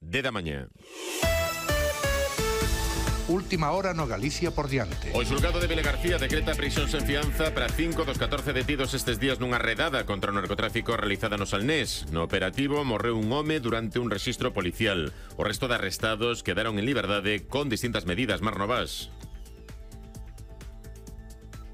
10 da mañá. Última hora no Galicia por diante. O xulgado de Vilagarcía decreta prisión sen fianza para 5 dos 14 detidos estes días nunha redada contra o narcotráfico realizada no Salnés. No operativo morreu un home durante un rexistro policial. O resto de arrestados quedaron en liberdade con distintas medidas. Mar Novas.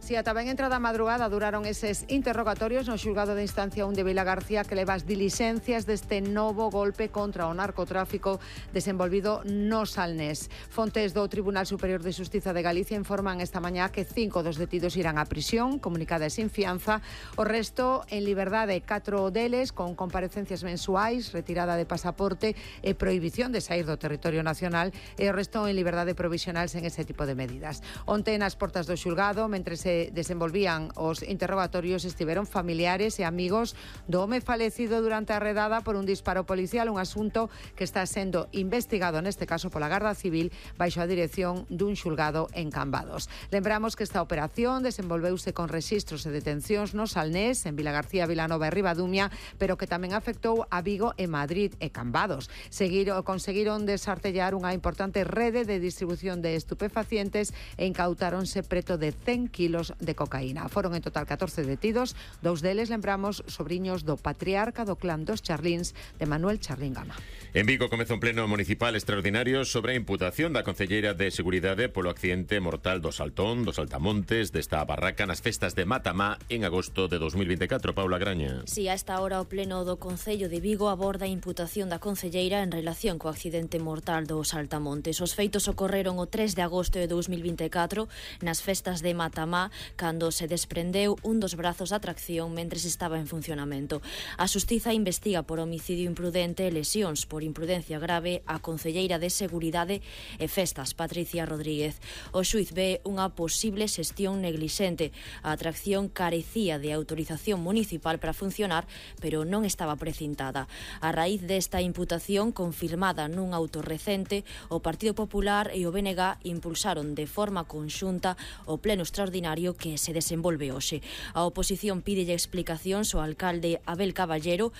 Si ata ben entrada a madrugada duraron eses interrogatorios no xulgado de instancia 1 de Vilagarcía que leva as dilixencias deste novo golpe contra o narcotráfico desenvolvido no Salnés. Fontes do Tribunal Superior de Xustiza de Galicia informan esta mañá que 5 dos detidos irán á prisión, comunicada sin fianza, o resto en liberdade, 4 deles con comparecencias mensuais, retirada de pasaporte e prohibición de sair do territorio nacional, e o resto en liberdade provisional sen ese tipo de medidas. Onte nas portas do xulgado, mentre se desenvolvían os interrogatorios, estiveron familiares e amigos do home falecido durante a redada por un disparo policial, un asunto que está sendo investigado neste caso pola Garda Civil baixo a dirección dun xulgado en Cambados. Lembramos que esta operación desenvolveuse con rexistros e detencións no Salnés, en Vilagarcía, Vilanova e Ribadumia, pero que tamén afectou a Vigo e Madrid e Cambados. Conseguiron desartellar unha importante rede de distribución de estupefacientes e incautáronse preto de 100 kilos de cocaína. Foron en total 14 detidos, 2 deles, lembramos, sobriños do patriarca do clan dos Charlíns, de Manuel Charlín Gama. En Vigo comeza un pleno municipal extraordinario sobre a imputación da concelleira de Seguridade polo accidente mortal do Saltón, dos Altamontes, desta barraca nas festas de Matamá en agosto de 2024. Paula Graña. Si, a esta hora o pleno do Concello de Vigo aborda a imputación da concelleira en relación co accidente mortal dos Altamontes. Os feitos ocorreron o 3 de agosto de 2024 nas festas de Matamá, cando se desprendeu un dos brazos da tracción mentres estaba en funcionamento. A Xustiza investiga por homicidio imprudente e lesións por imprudencia grave a concelleira de Seguridade e Festas, Patricia Rodríguez. O xuiz ve unha posible xestión neglixente. A atracción carecía de autorización municipal para funcionar, pero non estaba precintada. A raíz desta imputación, confirmada nun auto recente, o Partido Popular e o BNG impulsaron de forma conxunta o pleno extraordinario que se desenvolve hoxe. A oposición pídelle explicacións ao alcalde Abel Caballero